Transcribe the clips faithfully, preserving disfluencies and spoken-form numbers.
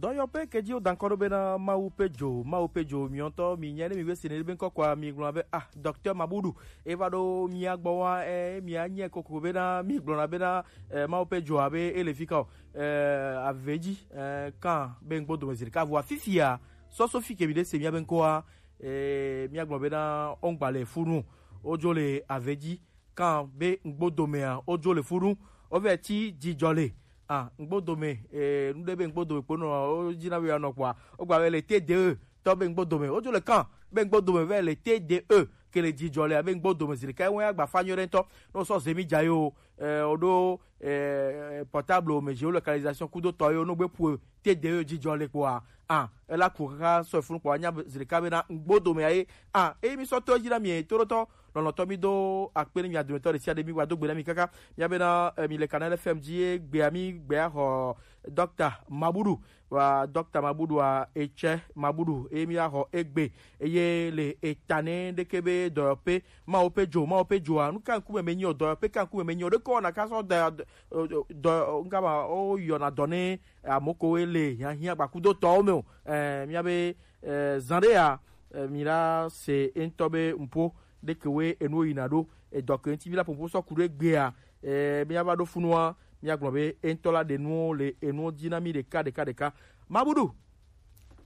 Dɔyɔƒe ke dzi woda ŋkɔ ɖo bena Mawu ƒe dzo, Mawu ƒe dzo miɔtɔ, mi nya ne mi be sene be ŋkɔ kɔa, mi gblɔ be, ah, Docteur Mabudu, eva ɖo mia gbɔ wa, eh, mia nye koko bena, mi gblɔna bena, eh, Mawu ƒe dzo abe ele fi ka o, eh, ave dzi, eh, kan be ŋgbo dome zi ɖeka vɔa fifia, sɔsɔ fi ke mi ɖe se mia be ŋkɔa, eh, mia gblɔ bena ongba le funu, odzo le ave dzi, kan be ŋgbodomea wodzo le funu, wovɛ ti dzidzɔ le. Ah, ŋgbodome, eh, nu ɖe be ŋgbodome kpo nɔ wo dzi na be yeanɔ kpɔa, wogba be le T D E tɔ be ŋgbodome wodzo le kan be ŋgbodome vɛ le T D E ke le dzidzɔ le abe ŋgbodome zi ɖeka ewe agba fa nyuie ɖe ŋutɔ. Ne wosɔ zemi dza yi o, eh, woɖo, eh, portable me dzi wo localisation kudo tɔ yi wo no gbe pu T D E dzidzɔ le kpɔa, ah, ela ku kaka sɔ funu kpɔa nya zi ɖeka be na ŋgbodome aye. Ah, eyi mi sɔ to edzi na mi to ɖo tɔ lɔlɔ̃tɔ mi do akpe ne mia dometɔ ɖe sia ɖe mi wa do gbe na mi kaka. Mia bena, eh, mi le Canal F M dzi ye gbea mi gbea xɔ Docteur Mabudu. Wa Docteur Mabudu a etsɛ Mabudu eye mi axɔ egbe eye le eta ne ɖeke be dɔyɔƒe Mawu ƒe dzo, Mawu ƒe dzoa, nu ka ŋkume me nyi o, dɔyɔƒe ka ŋkume me nyi o, ɖeke wɔna ka sɔ dɔ, dɔ, dɔ, ŋka ma, wo yɔna dɔ ne amokowe le hiahiã gbakudotɔwo me o. Eh, mia be, eh, zã ɖe ya, eh, mi la se eŋutɔ be ŋpo ɖeke we enuwo yina ɖo, edɔ ke ŋuti mi la ƒoƒo sɔ ku ɖo egbea, eh, mia va ɖo funua, mia gblɔ be eŋutɔ la ɖe nuwo le enuwo dzi na mi ɖeka, ɖeka, ɖeka. Mabudu,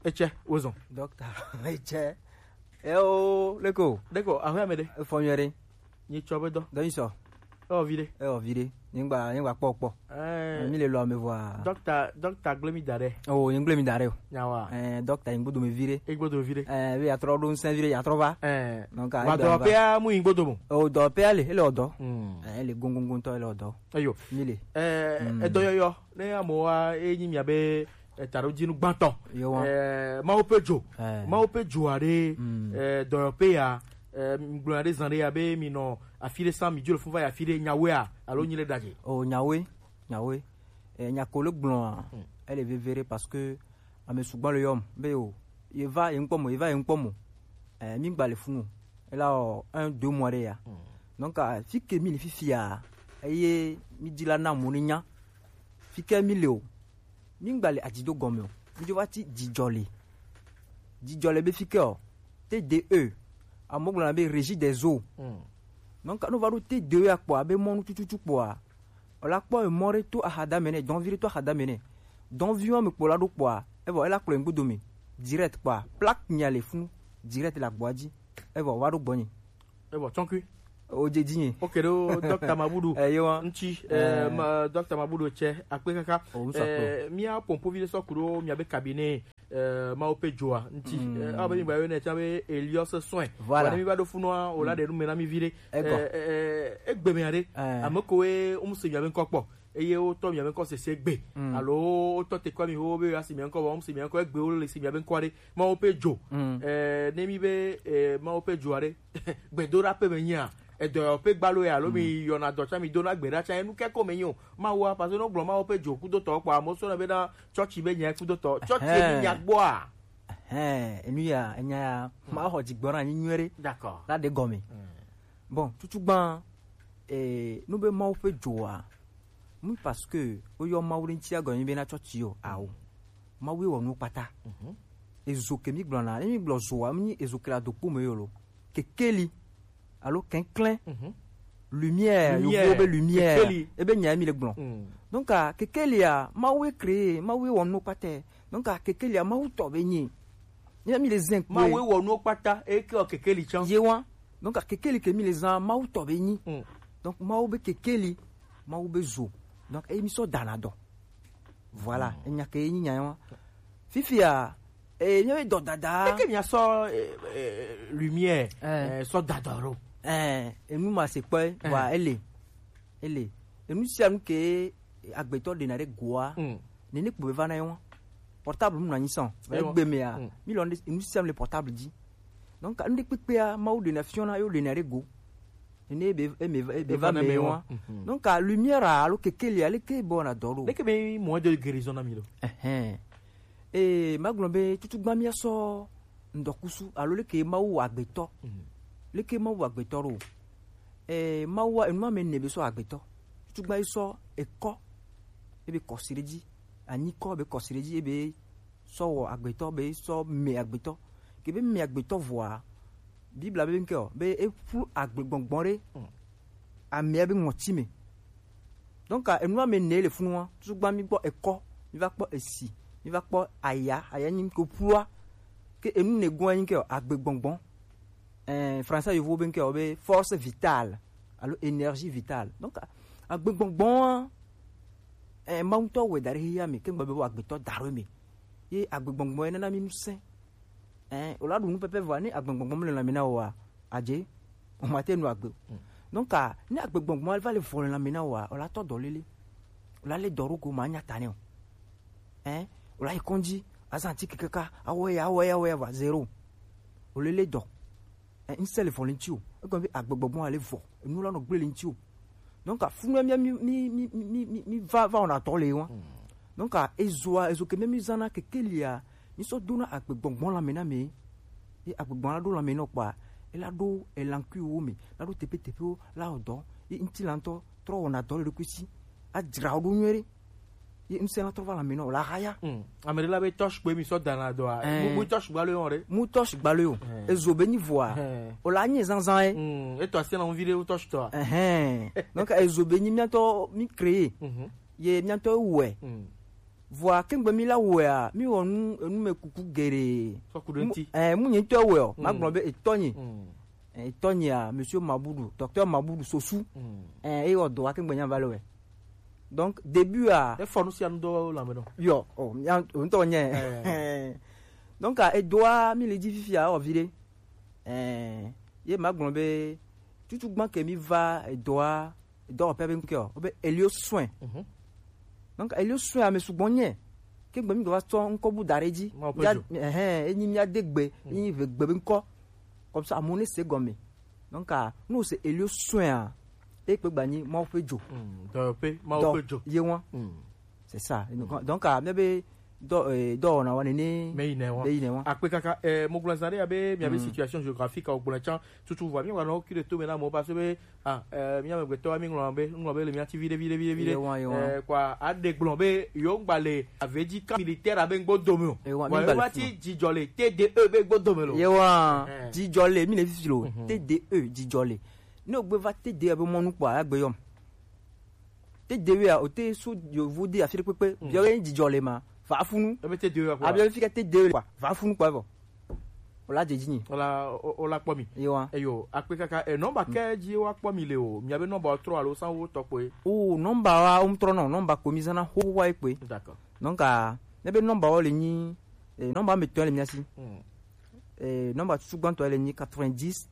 etsɛ, wozɔn. Docteur, etsɛ. Eo, leko. Leko, ahwe ame ɖe. Efɔ nyuie ɖe. Nyi tsɔ be dɔ. Dɔ nyi sɔ. Ewɔ vi ɖe. Ewɔ vi ɖe. Nyigba, nyigba kpɔ kpɔ. Eh. Mi le lɔ me vɔa. Docteur, docteur gble mi da ɖe. Oh, nyi gble mi da ɖe o. Nyawa. Eh, docteur nyi gbodo me vi ɖe. E gbodo vi ɖe. Eh, be yatrɔ ɖo ŋsɛn vi ɖe, yatrɔ va. Eh. Donc, wa dɔ pea mu nyi gbodo mo. Oh, dɔ pea le, ele ɔdɔ. Hmm. Eh, ele gongongo tɔ, ele ɔdɔ. Eyo. Mi le. Eh, edɔyɔyɔ. Ne amewoa, e nyi mia be, eh, taɖodzinu gbãtɔ. Yewo. Eh, Mawu ƒe dzo. Eh. Mawu ƒe dzo aɖe, mm, eh, dɔyɔƒe ya, eh, gblɔ aɖe zã ɖe ya be mi nɔ afi ɖe sam, mi dzo le fun va yi afi ɖe nyawoea, alo nyi le ɖadze. O nyawoe, nyawoe. Eh, nya ko le gblɔa, mm, ele veve ɖe parce que ame sugbɔ le yɔm be o, ye va ye ŋkpɔ mo, ye va ye ŋkpɔ mo. Eh, mi gba le funu. Ela o, un, deux mois ɖe ya. Mm. Donc, ah, fi ke mi le fifia, eye mi di la na mo ni nya. Fi ke mi le o. Mi gba le adzido gɔme o. Mi dzo va ti dzidzɔ le. Dzidzɔ le be fi ke o. T D E. Amo gblɔ na be régie des eaux. Mm. Donc, no va ɖo T D E akpɔ abe mɔnu tututu kpɔa. O la kpɔ emɔ ɖe to axadame nɛ, dɔnvi ɖe to axadame nɛ. Dɔnvi wa me kpɔ la ɖo kpɔa, evɔ ela kplɔ ŋgbodo me. Direct kpɔa, plaque nya le funu. Direct la gbɔa dzi. Evɔ wa ɖo gbɔnyi. Evɔ tsɔnkui. O dze dzi nye. Ok ɖo Docteur Mabudu. Eh, yewa. Ŋtsi, eh, eh, ma, Docteur Mabudu tsɛ akpe kaka. O, ŋsɔ akpe. Eh, mia pompovi ɖe sɔ ku ɖo mia be cabinet, eh, Mawu ƒe dzoa ŋtsi. Mm. Eh, abe mi gba yɔ ne tsã be Elios Soin. Voilà. Wa ne mi va ɖo funua, o la, mm, ɖe nu me na mi vi ɖe. Ego. Eh, eh, eh, egbe me aɖe. Eh. Ame kowe wo mu se mia be ŋkɔ kpɔ. Eye wotɔ mia be ŋkɔ sese gbe. Mm. Alo wotɔ te kɔ mi wo be asi mia ŋkɔ, wo mu se mia ŋkɔ egbe wo le si mia be ŋkɔ ɖe. Mawu ƒe dzo. Mm. Eh, ne mi be, eh, Mawu ƒe dzo aɖe. Gbedoɖaƒe me nyia, edɔyɔƒe gbalo ya, alo mi, mm, yɔna dɔ tsã, mi dona gbe ɖa tsã, enu ke ko me nyo. Mawu a, parce que no gblɔ Mawu ƒe dzo kudotɔ kpɔ, amewo sɔna be na tsɔtsi be nya kudotɔ. Tsɔtsi emi nya gbɔa? Ɛhɛn, enu ya, enya ya, ma xɔ dzigbɔ na nyi nyuie ɖe. D'accord. La ɖe gɔme. Mm. Bon, tutugbã, eh, nu be Mawu ƒe dzoa, mu parce que woyɔ Mawu ɖe ŋuti agɔme be na tsɔtsi o, ao. Mawu ye wɔ nuwo kpata. Mhm. Ezo ke mi gblɔna, ne mi gblɔ zoa, mi ezo ke la do kpo me yo lo. Kekeli, alo kɛnklɛn. Mhm. Lumière, lumière, yovo be lumière. Kekeli. Ebe nya mi le gblɔ. Mm. Donc, ah, kekelia, Mawu ye créé, Mawu ye wɔ nuwo kpata. Donc, ah, kekelia, Mawu tɔ be nyi. Ne mi le zen kpoe. Mawu ye wɔ nuwo kpata, e ke wɔ kekeli tsã. Ye wa. Donc, ah, kekeli ke mi le zan, Mawu tɔ be nyi. Mm. Donc, Mawu be kekeli, Mawu be zo. Donc, e mi sɔ dana dɔ. Voilà, mm, enya ke nyi nya wa. Fifia, eh, nye dɔ dada. Eke mia sɔ, eh, eh, lumière, eh, eh, sɔ dadɔ ɖo. Eh, enu ma se kpɔe, eh, wa ele. Ele. Enu sia nu ke agbetɔ ɖena ɖe goa. Mm. Nene kpo be va na ye wa. Portable mu na nyi sɔn. Ewa. Egbe mea, mm, mi lɔ ne enu sia nu le portable dzi. Donc, enu ɖe kpekpea, Mawu ɖena fiɔna, yo ɖena ɖe go. Ene be, eme, ebe va me wa. Mhm. Donc, ah, lumière, ah, alo kekeli, ah, leke bɔ na dɔ ɖo. Leke be moyen de guérison na mi ɖo. Ɛhɛn. Eh, ma gblɔ be, tutugbã mia sɔ ŋdɔkusu, alo leke Mawu wɔ agbetɔ. Mhm. Leke Mawu wɔ agbetɔ ɖo. Eh, Mawu wa, enu ma me ne be sɔ agbetɔ. Tutugbã yi sɔ ekɔ, ebe kɔsi ɖe dzi. Anyi kɔ be kɔsi ɖe dzi, ebe sɔ wɔ agbetɔ be sɔ mɛ agbetɔ. Ke be mɛ agbetɔ vɔa, Biblia be ŋkɛ o be e ƒu agbegbɔngbɔn ɖe amea be ŋɔti me. Donc enu ame ne le funua, tutu gba mi gbɔ ekɔ, mi va kpɔ esi, mi va kpɔ aya, aya nyi ko ƒua. Ke enu ne gɔn nyi ke o agbegbɔngbɔn. Eh, français yovo be ŋkɛ o be force vitale alo énergie vitale. Donc agbegbɔngbɔn eh, Mawu ŋutɔ wɛ da ɖe xexea me, ke ŋgbe be wo agbetɔ da ɖo me. Ye agbegbɔngbɔn ye nana mi ŋusẽ. Eh, o la ɖu nu pɛpɛ vɔa, ne agbegbɔngbɔn mele lãme na wòa, adze, o ma te nu agbe o. Donc a, ne agbegbɔngbɔn va le vɔ le lãme na wòa, o la tɔ dɔ lele. O la le dɔ ɖo go ma nya ta ne o. Eh, o la yi kɔndzi, azan ti kekeka, awɔ ya, awɔ ya, awɔ ya va zéro. O lele dɔ. Eh, ŋsɛ le vɔ le ŋti o. Egɔme be agbegbɔgbɔ ale vɔ. Enu la nɔ gble le ŋti o. Donc a, funu mia mi mi mi mi mi mi va va wɔna tɔ le wa. Donc a, ezoa ezo ke mia mi zana kekelia, mi sɔ dona agbegbɔgbɔ la me na me. Ye agbegbɔ la ɖo la me nɔ kpa, e la ɖo elankui wo me, la ɖo tepe tepe wo la odɔ. Ye ŋti la ŋtɔ trɔ wɔna dɔ le ɖokui si. A dzra wo ɖo nyuie ɖe. Ye ŋsɛ la trɔ va la me nɔ, o la haya. Hmm. Ame ɖe la be tɔsh gbe mi sɔ dana dɔa. Eh. Mu, mu tɔsh gba le yɔ ɖe. Mu tɔsh gba le yɔ. Eh. Ezo be nyi vɔa. Eh. O la nye zanzan ye. Hmm. Eto asi na ŋvi ɖe wo tɔsh tɔa. Ehɛn. Donc ezo be nyi miatɔ mi créer. Mhm. Ye miatɔ wɛ. Hmm. Vɔa kengbe mi la wɛa, mi wɔ nu enu me kuku geɖe. Sɔ ku ɖe ŋti. Eh, mu nye ŋtɔ wɛ o. Ma gblɔ be etɔ nye. Hmm. Eh, etɔ nyea, Monsieur Mabudu, Docteur Mabudu Sosu. Hmm. Eh, eye wɔ dɔ wa kengbe nya va le wɛ. Donc début a. Efɔ nu sia nu dɔ la me nɔ. Yɔ, o, mia, o ŋutɔ nye. Eh. Donc a, edoa mi le dzi fifia o vi ɖe. Eh, ye ma gblɔ be tutu gbã ke mi va edoa, edɔwɔƒe be ŋkɔ o, o be Elio Soin. Mhm. Donc Elio Soin ame sugbɔ nye. Ke gbe mi gba tsɔ ŋkɔ bu da ɖe dzi. Mawu ƒe dzo. Ehɛn, enyi mia de gbe, enyi ve gbe be ŋkɔ. Comme ça amewo ne se gɔme. Donc a, ne o se Elio Soin a, e kpe gba nyi Mawu ƒe dzo. Mm, dɔyɔƒe, Mawu ƒe dzo. Ye wa. Mm. C'est ça. Donc, donc a, mia be dɔ, eh, dɔ na wa nene. Me yi ne wa. Me yi ne wa. Akpe kaka, eh, mo gblɔ zã ɖe ya be mia be situation géographique a o gblɔ tsã tutu vɔ. Mi wa nɔ ki de to me na mo parce que be, ah, eh, mia me gbetɔ mi ŋlɔ be, ŋlɔ be le mia ti vi ɖe, vi ɖe, vi ɖe, vi ɖe. Ye wa, ye wa. Eh, quoi, a de gblɔ be yo ŋgba le avedzi ka militaire abe ŋgbo dome o. Ye wa, mi ŋgba le wa ti dzidzɔ le T D E be ŋgbo dome lo. Ye wa. Eh. Dzidzɔ le, mi le fifi lo. Mhm. T D E dzidzɔ le. Ne o gbe va T D E be mɔnu kpɔ, a gbe yɔm. Te dewe a, o te so yovo de afi ɖe kpekpe. Mm. Biɔ ye dzidzɔ le ma. Va funu. Ebe te dewe a kpɔ. Abiɔ fi ka te dewe le kpɔ. Va funu kpɔ evɔ. O la dzedzi nyi. O la, o, o la kpɔ mi. Ewa. Eyo, akpe kaka, e, nɔmba ke dzi wa kpɔ mi le o. Mia be nɔmba trɔ alo san wo tɔ kpɔe. O, nɔmba wa, o trɔ nɔ, nɔmba ko mi zana ho wa kpɔe. D'accord. Donc, a, ne be nɔmba wo le nyi, e, nɔmba me tɔ le mia si. Mm. E, nɔmba tutu gbãtɔ le nyi quatre-vingt-dix,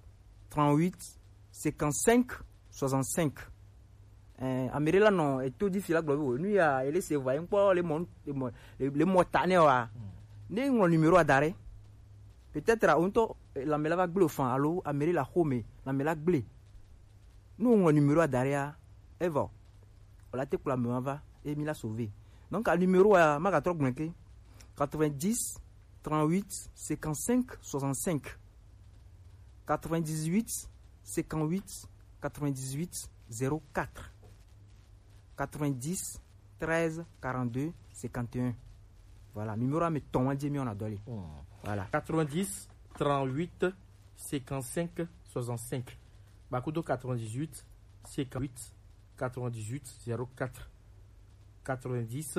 trente-huit, cinquante-cinq, soixante-cinq. Eh, ame ɖe la nɔ eto dzi fi la gblɔ be o, nu ya ele se vɔ, eŋkpɔ le mɔ, le mɔ, le, le mɔ ta nɛ wa. Ne ŋlɔ numéro a da ɖe, peut-être o ŋutɔ, eh, lãme la va gblẽ o fan alo ame ɖe la xo me, lãme la gblẽ. Ne o ŋlɔ numéro a da ɖea, evɔ, o la te kplɔ ame wa va, e mi la sauver. Donc a numéro a ma gatrɔ gblẽ ke, quatre-vingt-dix, trente-huit, cinquante-cinq, soixante-cinq. Quatre-vingt-dix-huit, cinquante-huit, quatre-vingt-dix-huit, zéro quatre. Quatre-vingt-dix, treize, quarante-deux, cinquante et un. Voilà, numéro a me tɔn wa dze mi ona dɔli. Hmm. Voilà. Quatre-vingt-dix, trente-huit, cinquante-cinq, soixante-cinq. Bakudo quatre-vingt-dix-huit, cinquante-huit, quatre-vingt-dix-huit, zéro quatre. Quatre-vingt-dix,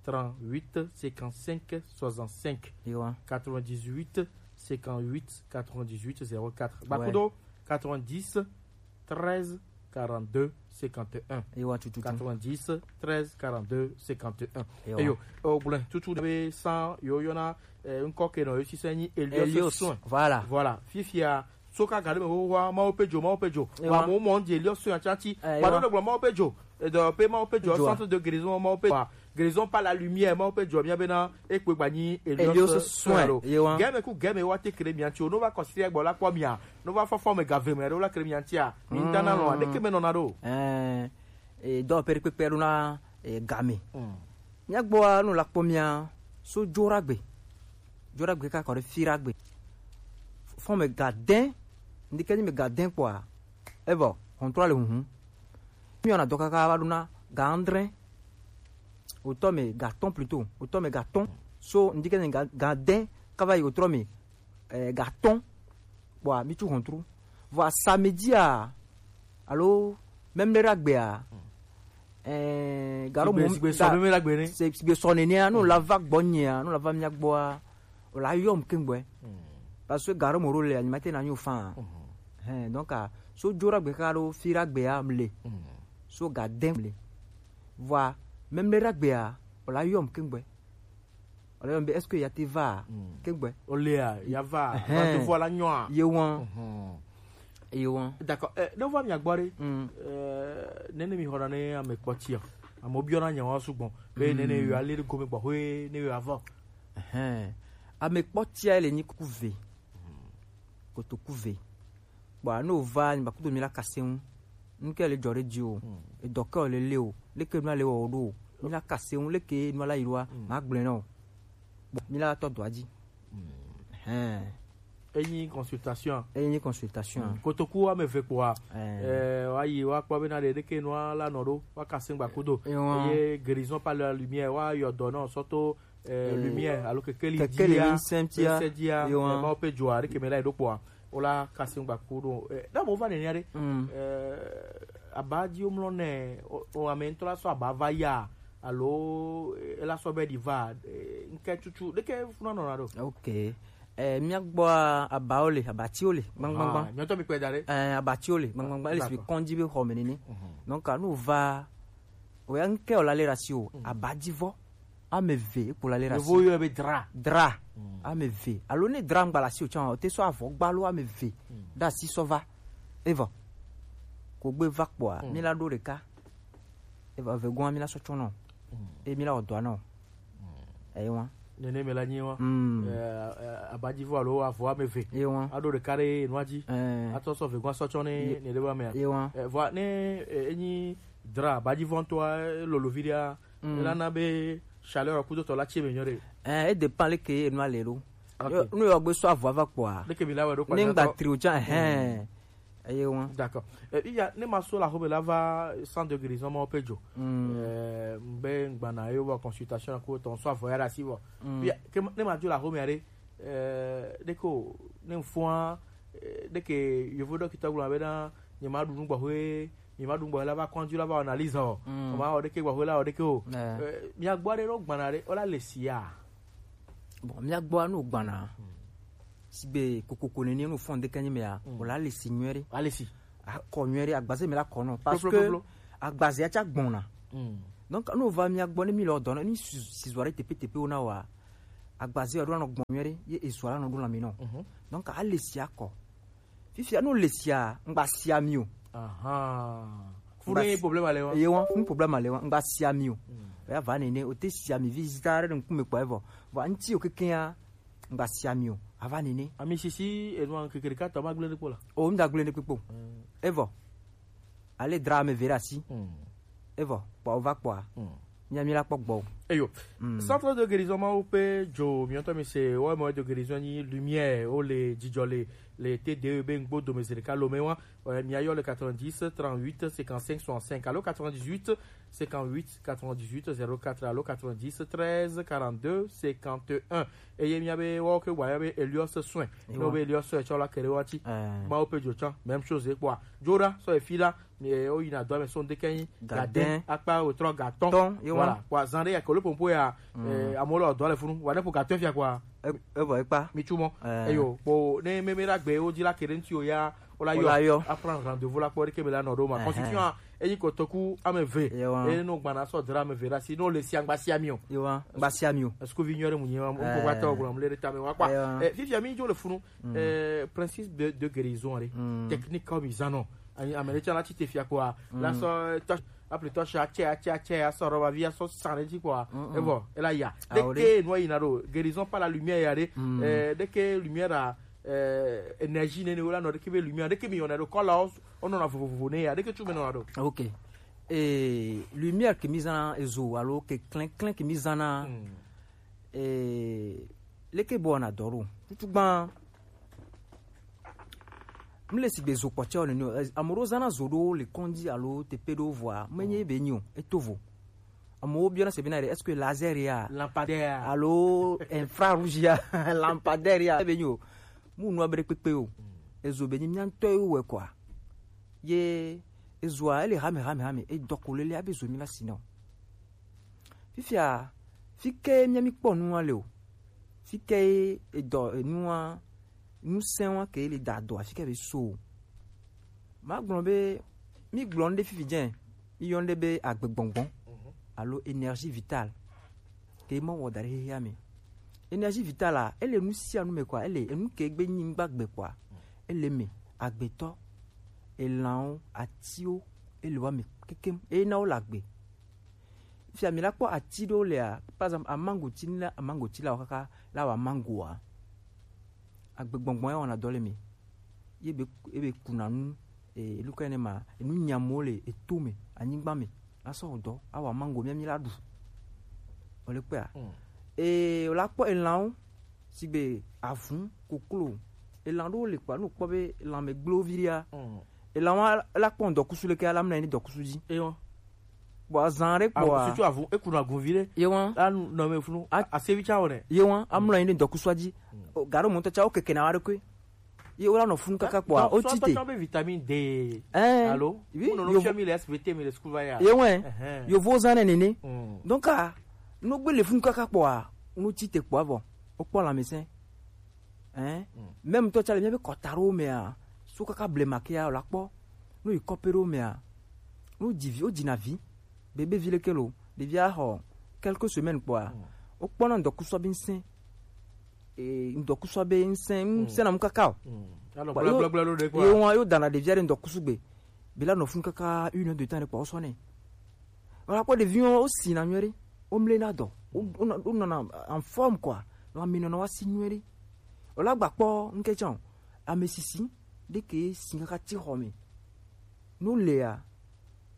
trente-huit, cinquante-cinq, soixante-cinq. Ewa. Quatre-vingt-dix-huit, cinquante-huit, quatre-vingt-dix-huit, zéro quatre. Ouais. Bakudo, quatre-vingt-dix, treize, quarante-deux, cinquante et un. Ewa, tututu. Quatre-vingt-dix, treize, quarante-deux, cinquante et un. Ewa. Eyo, o gblẽ tutu be san yo yona, eh, ŋkɔ ke nɔ yo si se nyi Elios Soin. Voilà. Voilà. Fifia, so ka gaɖe me xoxoa, Mawu ƒe dzo, Mawu ƒe dzo. Ewa. Wa mo mo dze Elios Soin atsatsi. Eh, wa ewa. Ɖo gblɔ Mawu ƒe dzo. Edo pe Mawu ƒe dzo, centre de guérison, Mawu ƒe dzo. Guérison par la lumière, Mawu ƒe dzo, mia bena, ekpe gba nyi Elios Soin. Ewa. Game ku game wa te kre mia tsi o, no va kɔsi gbɔ la kpɔ mia, no va fɔfɔ me gave me ɖo la kre mia tsia. Mi ŋta na lɔ, ɖeke me nɔna ɖo. Eh, eh, dɔ pere kpekpe ɖo na, eh, game. Mm. Míagbɔa, nu la kpɔ mía so Dzoragbe. Dzoragbe kaka kɔ ɖe Firagbe. Fɔn me ga dɛn, ndike nyi me ga dɛn kpɔa, evɔ, hɔntrɔ le huhun. Míɔna dɔ kaka va ɖo na ga adre. Otɔ me ga atɔn plutôt, otɔ me ga atɔn. So n di ke ne ga, ga dɛ kava yi o trɔ mi, eh, ga tɔn. Bɔa mi tu hɔntru. Vɔa samedi a, alo même le ragbe a, eh, garo mo sigbe sɔ nene a, no la va gbɔ nyea, no la va mia gbɔa, o la yɔm kengbe. Parce que garo mo ro le, anima te na nyo fan. Hein, donc a, so jo ragbe ka ro fi ragbe a mle. So ga dɛ mle. Vɔa même le ragbe a, o la yɔm kengbe. Wala yɔ be, est-ce que ya te va? Kegbe. O le a, ya va. Rendez-vous la nyoa. Ye wan. Ye wan. D'accord. Eh, ne va mi agbɔ ɖe. Eh, nene mi hɔna ne ame kpɔtia. Ame biɔ na nyawa sugbɔ. Be nene yo ale go me gbɔ hoe ne yo ava. Ame kpɔtia le ni kuve. Kotoku ve. Bɔa ne o va ni ba kudo mi la kase ŋu. Nuke le jɔ ɖe dzi o. Edɔ ke o le le o. Leke nua le wɔ o ɖo o. Mi la kase ŋu leke nua la yi ɖoa. Ma gblẽ na o. Bon, mi la tɔ dɔa dzi. Hɛn. Eyi consultation. Eyi consultation. Kotoku ame ve kpɔa. Eh, wa yi wa kpɔ be na ɖe leke nua la nɔ ɖo. Wa kase ŋu ba kudo. Eye guérison par la lumière wa yɔ dɔ na o sɔ to eh, lumière, alo kekeli kekeli dia, ŋusẽ tia, ŋusẽ dia, yo, eh, ma wo pe joa, ɖeke me la yi ɖo kpɔa, wo la kase ŋu gba ku ɖo, eh, ɖe mo va nenia ɖe, eh, aba dzi wo mlɔ nɛ, o, o ame ŋutɔ la sɔ aba va ya, alo, eh, ela sɔ be ɖi va, eh, ŋke tutu, ɖeke funa nɔna ɖo. Ok. Eh, mía gbɔa, abawo le, abatiwo le, gbangbangban. Ah, míawo tɔ mi kpɛ da ɖe. Eh, abatiwo le, gbangbangban. Ele si kɔndzi be xɔ me nene. Donc, anu va, oya ŋke o la le ɖe asi o, abadivɔ. Ame eve, ekpo la le ɖe asi. Yevo yɔe be dra. Dra. Ame eve. Alo ne dra ŋgba le asi o tsã, o te sɔ avɔ gba lo ame eve. Ɖe asi sɔ va. Evɔ. Ko gbe va kpɔa, mi la ɖo ɖeka. Evɔ, eve gɔn mi la sɔ tsɔ nɔ. E mi la wɔ dɔa nɔ. Eyi wa. Nene me la nyi wa. Eh, eh, abadivɔ alo avɔ ame eve. Eyi wa. Aɖo ɖeka ɖe nua dzi. Eh. Atsɔ sɔ eve gɔn sɔ tsɔ ne, ne ɖe ba mea. Eyi wa. Eh, vɔ ne, eh, enyi dra, abadivɔ ŋutɔa, lolo vi ɖea, elana be chaleur kudo tɔ la tse me nyɔ ɖe. Eh, e dépend leke enua le ɖo. Ok. Yo, nu yɔ gbe sɔ avɔ va kpɔa. Leke mi la wɔ ɖo kpa ne ŋgba trio tsã, hɛn. Eye wa. D'accord. Eh, iya, ne ma so la hobe la va centre de guérison ma ope jo. Eh, mbe ngbana yo wa consultation ko ton so avɔ ya ɖe asi vɔ. Iya, ke ma, ne ma jo la home ya ɖe, eh, ɖeke o, ne mfua, eh, ɖeke yevo ɖɔkita gblɔ be na, nye ma ɖu nu gbɔ hoe, nye ma ɖu nu gbɔ hoe la va kɔndzi la va analyse o. Ma o ɖeke gbɔ hoe la o ɖeke o. Eh, mia gbɔ ɖe ɖo gbana ɖe, o la le sia. Bon, mia gbɔ no gbana. Sigbe kokoko nene no fɔn de kanyi mea, o la le si nyuie ɖe. A le si. Akɔ nyuie ɖe, agbaze me la kɔ nɔ. Parce que agbaze ya tsa gbɔna. Donc, no va mia gbɔ ne mi le dɔ na, ni si, si zɔ ɖe tepe tepe o na wa. Agbaze ya ɖo anɔ gbɔn nyuie ɖe, ye ezɔ la nɔ ɖo la mi nɔ. Donc, a le si akɔ. Fifia no le sia, ŋgba sia mi o. Aha. Funu ye problème ale wa. Ye wa, funu problème ale wa, ŋgba sia mi o. Ya va nene, o te sia mi vi zita ɖe ŋkume kpɔ evɔ. Vɔ ŋti o keke ya, ŋgba sia mi o. Ava nene. Ami sisi, enu an kekere ka tɔ ma gblẽ ɖe kpɔ la. O, ŋda gblẽ ɖe kpɔ. Evɔ. Ale dra ame eve ɖe asi. Evɔ, kpɔ o va kpɔa. Mia mi la kpɔ gbɔ. Eyo. Centre de guérison ma wo pe jo, mi ŋutɔ mi se, wo me de guérison ni lumière, o le dzidzɔ le, le te de be ŋgbo dome se ɖeka lo me wa. Ouais, mi ayɔ le quatre-vingt-dix, trente-huit, cinquante-cinq, soixante-cinq. Alo quatre-vingt-dix-huit, cinquante-huit, quatre-vingt-dix-huit, zéro quatre, alo quatre-vingt-dix, treize, quarante-deux, cinquante et un. Eye mia be wo ke wa ya be Elios soin. No be Elios soin, tsɔ la kere wa ti. Ma wo pe jo tsã, même chose, quoi. Joda, so e fi la, mi, eh, o yina dɔ me so ŋdeke nyi. Gadin. Gadin. Akpa o trɔ gatɔn. Tɔn, ye wa. Voilà. Wa zan ɖe ya ke le pompo ya, eh, amewo le dɔ le funu. Wa ne po gatɔn fia quoi. E, e vɔ ekpa. Mi tu mɔ. Eh. Eyo, po ne me, me la gbe o di la kere ŋti o ya, o la yɔ. O la yɔ. A prendre rendez-vous la kpɔ ɖeke be la nɔ ɖo ma. Constitution a, enyi kotoku ame eve. Ye wa. E no gbana sɔ dra ame eve ɖe asi, no le sia ŋgba sia mi o. Ye wa, ŋgba sia mi o. Est-ce que vi nyɔ ɖe mu nyi wa, mo ko gba tɔ gblɔ, mo le ɖe tame wa kpa. Ye wa. Eh, fifia mi dzo le funu. Eh, principe de, de guérison, allez. Technique comme ils en ont. Ami, ame ɖe tsã la tsi te fia kpɔa, la sɔ tɔ, apli tɔ sɔ atsɛ, atsɛ, atsɛ, asɔ rɔba vi asɔ san ɖe dzi kpɔa, evɔ, ela ya. Ɖeke nua yina ɖo, guérison par la lumière ya ɖe, eh, ɖeke lumière a, eh, énergie nene wo la nɔ, ɖeke be lumière, ɖeke mi yɔna ɖo, kɔla wo, wo nɔna vovovo ne ya, ɖeke tsu me nɔna ɖo. Ok. Eh, lumière ke mi zana ezo, alo ke klɛnklɛn ke mi zana, eh, leke bɔ na dɔ ɖo. Tutu gban, M le sigbe zo kpɔtsɛ o nene o. Eh, ame ɖewo zãna zo ɖewo le kɔndzi alo teƒe ɖewo vɔa, menye be nyi o, eto vo. Amewo biɔna se bena ɖe, est-ce que laser ya, lampadaire, alo infrarouge ya, lampadaire ya, ebe nyo. Mu nua be ɖe kpekpe o. Ezo be nyi mia ŋutɔ ye wɔ kɔa. Ye ezoa, ele hame, hame, hame. Edɔ ko lele abe zo mi la si nɔ. Fifia, fi ke mia mi kpɔ nua le o. Fi ke edɔ, enua, nusɛnwa ke le da dɔ, afi ke be so o. Ma gblɔ be, mi gblɔ ŋɖe fifi jɛ, mi yɔ ŋɖe be agbegbɔngbɔn, alo énergie vitale. Ke ma wɔ da ɖe xexea me. Énergie vitale a, ele nu sia nu me kɔa, ele enu ke gbe nyi ŋgba gbe kɔa, ele me, agbetɔ, elanwo, atiwo, ele wa me kekem, eye na wo le agbe. Fia mi la kpɔ ati ɖewo lea, par exemple, amangoti, ne amangoti la wɔ kaka la wɔ amangoa, agbegbɔngbɔn ya wɔna dɔ le me. Ye be, ye be kuna nu, e, luka ene ma, enu nyamuwo le eto me, anyigba me, la sɔ wɔ dɔ, awɔ amango mia mi la ɖu. Wole kpea? Mm. E, wòla kpɔ elanwo, sigbe avun, koklo, elan ɖewo le kpɔa, ne wòkpɔ be lanmɛ gblẽ wo viɖea, mm, elan wa la kpɔ ŋdɔkusu leke ala mlɔ anyi ɖe ŋdɔkusu dzi. Eyɔ. Bon, azan ɖe kpɔa, surtout avun, eku na gun viɖe. Ye wa. La nu nɔ me funu. A- asevi tsa wɔ nɛ. Ye wa, amlɔ anyi ɖe ŋdɔkusua dzi. Mm. O, gaɖo mɔtɔ tsa wo keke na wa ɖe koe. Ye wola nɔ funu kaka kpɔa, o ti te. Sɔ be vitamine D. Ɛɛ, alo? Oui, wo nɔ yo fiɔ mi le S V T mi le school va ya. Ye wɛ. Ɛhɛn. Yovo zan nɛ nene. Mm. Donc, a, no gbe le funu kaka kpɔa, no ti te kpɔa vɔ. O kpɔ la mi sɛn. Hein? Mm. Même toi, tu as le bien kɔta ɖewo mea, so kaka blema kea, wòla kpɔ. No yi kɔpe ɖewo mea, no dzi vi, wodzi na vi. Bébé vi leke lo, ɖevi axɔ quelques semaines kpɔa, mm, wokpɔna ŋdɔkusua be ŋsɛn. E, ŋdɔkusua be ŋsɛn, mm, ŋsɛn na mu kaka o. Mm. Alɔ kpɔ, yo, gblɔgblɔ ɖo ɖe kpɔa, yo wa, yo dana ɖevia ɖe ŋdɔkusu gbe. Be la nɔ funu kaka une heure de temps ɖe kpɔa, wosɔ nɛ. Wòla kpɔ ɖeviwo, wosina nyuie ɖe. Womlena dɔ. Wo, wonɔ, wonɔna en forme quoi. Lãme nɔna wa si nyuie ɖe. Wòla gba kpɔ ŋkɛ tsã o. Ame sisi ɖe ke si kaka ti xɔ me. No lea,